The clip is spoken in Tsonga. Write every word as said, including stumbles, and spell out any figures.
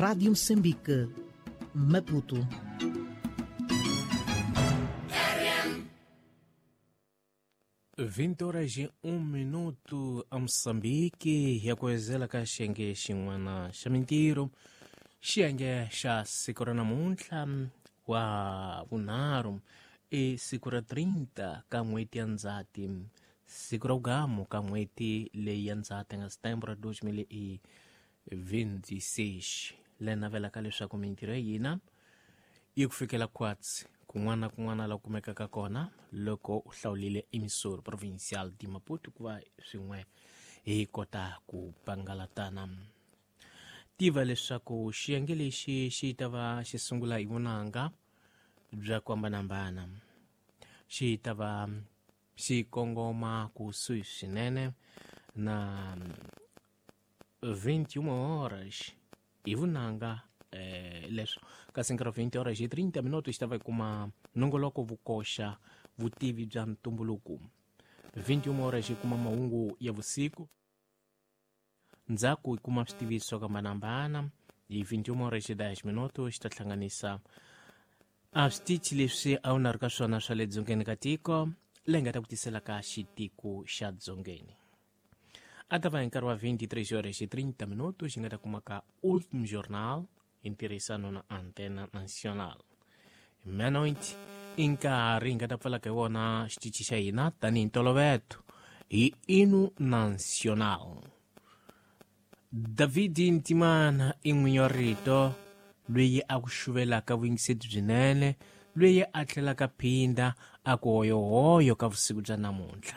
Rádio Moçambique, Maputo. vinte horas e um minuto a Moçambique ya kuwezela ka xiyenge xin'wana xa mintirho, xiyenge xa siku ra namuntlha wa vunharhu i siku ra trinta ka n'hweti ya Ndzhati, siku ra vugamu ka n'hweti leyi ya Ndzhati nga setembro dois mil e vinte e seis. Le navelaka leswaku mintirho ya hina yi ku fikela khwatsi kun'wana na kun'wana la kumekaka kona loko u hlawulile emissora provincial de Maputo ku va swin'we hi kota ku pangalatana. Tiva leswaku xiyenge lexi xi ta va xi sungula hi vunanga bya ku hambanahambana, xi ta va xi kongoma kusuhi swinene na vinte e uma horas hi vunanga eh, leswo kasi nkarhi wa vinte horas hi trinta minutos xi ta va hi kuma nongoloko vukoxa vutivi bya ntumbuluko. vinte e uma horas hi kuma mahungu ya vusiku, ndzhaku hi kuma switiviso swo hambanahambana. Hi vinte e uma horas hi dez minutos xi ta hlanganisa a switichi leswi a wu na ri ka swona swa le dzongeni ka tiko leyi nga ta ku tisela ka xitiko xa dzongeni. A ta va hi nkarhi wa vinte e três horas e trinta minutos xi nga ta kuma ka Último Jornal hi ntirhisano na Antena Nacional. Meia-noite i nkarhi hi nga ta pfalaka hi wona xitichi xa hina tanihi ntolovelo hi Hino Nacional. David Ntimana i n'winyi wa rito loyi a ku xuvelaka vuyingiseti byinene, loyi a tlhelaka phinda a ku hoyohoyo ka vusiku bya namuntlha.